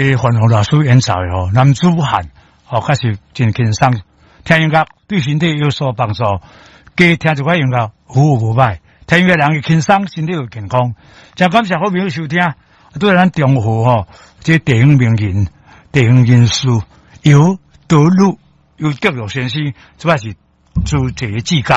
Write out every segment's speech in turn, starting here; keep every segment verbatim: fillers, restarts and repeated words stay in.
彼范宏老師演奏的吼，男子漢吼，確實真輕鬆，聽音樂對身體有所幫助。加聽一寡音樂，好無歹。聽音樂人會輕鬆，身體會健康。真感謝好朋友收聽，對咱中和吼，這地方名人、地方人士游德祿、游德祿先生，這擺是做一个志工，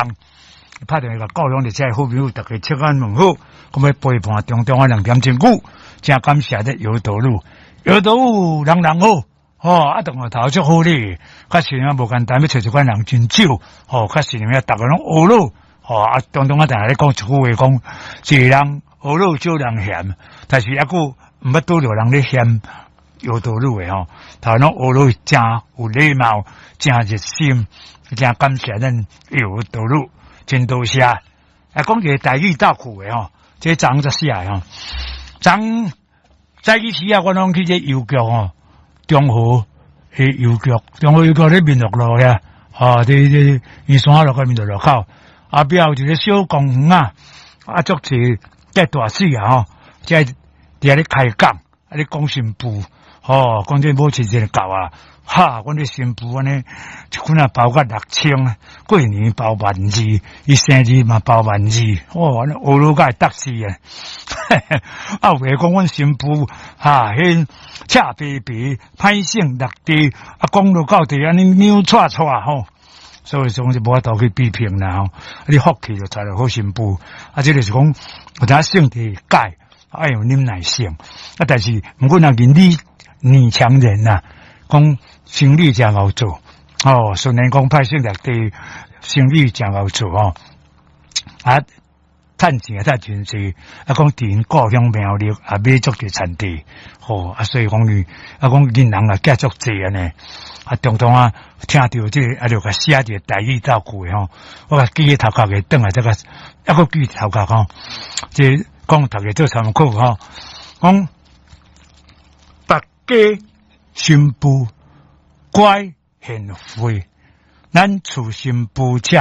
拍電話共故鄉的這好朋友，大家請安問好，咁欲陪伴中中啊兩點鐘久，真感謝這游德祿，游德祿人人好，吼啊，同學頭足好咧，確實啊無簡單，欲揣這款人真少，吼，確實呢，逐个攏呵咾，吼啊，中中啊，定定咧講一句話，講一个人呵咾少人嫌，但是猶閣毋捌拄著人咧嫌游德祿的吼，頭攏呵咾誠有禮貌，誠熱心，誠感謝咱游德祿，真多謝。啊，講一個台語鬥趣的吼，這昨昏才寫的吼，昨早起時啊，我攏去這郵局吼，中和彼郵局，中和郵局咧民樂路遐，吼，佇佇圓山路佮民樂路口，後壁有一個小公園啊，啊，足濟這大使啊吼，這佇遐咧開講，啊咧講新婦，吼，講這母親節到啊，哈，阮這新婦按呢，一款仔包甲六千，過年包萬二，伊生日嘛包萬二，哦，按呢呵咾甲會得死啊！啊，有的講阮新婦，哈，彼赤白白，歹性落地，啊，講落到底按呢扭掣掣吼，所以講就無法度去批評啦吼。你福氣就娶著好新婦，啊，這個是講有影性地改，愛有忍耐性，啊，但是毋過若人女女強人呐，講生理誠𠢕做，哦，雖然講歹性落地，生理誠𠢕做吼，啊，趁錢也趁真濟，啊，講佇𪜶故鄉苗栗也買足濟田地，吼，啊，所以講伊，啊，講囡人也寄足濟按呢，啊，常常啊，聽著這個，啊，就共寫一個台語鬥句的吼，我共記佇頭殼會轉來這個，猶閣記頭殼吼，這講大家做參考吼，講別家新婦乖賢惠，咱厝新婦赤